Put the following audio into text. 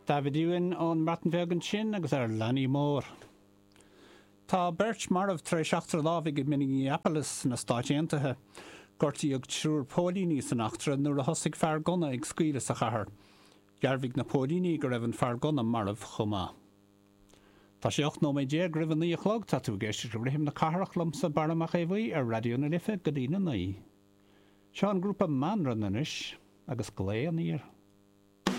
Dafydd Iwan ón mBreatain Bheag ansin agus ar Leanaí Mór. Tá beirt marbh tar éis eachtra lámhaigh i Minneapolis sna Stáit Aontaithe. Gortaíodh triúr póilíní san eachtra nuair a thosaigh fear gunna ag scaoileadh sa chathair. Dhearbhaigh na póilíní go raibh an fear gunna marbh chomh maith. Tá sé 18 nóiméad roimh a 9 a chlog. Tá tú ag éisteacht le Rithim na Cathrach liomsa, Barra Mac Aodha Bhuí, ar Raidió na Life go dtí na 9. Seo an grúpa Manran anois agus Glao Aniar.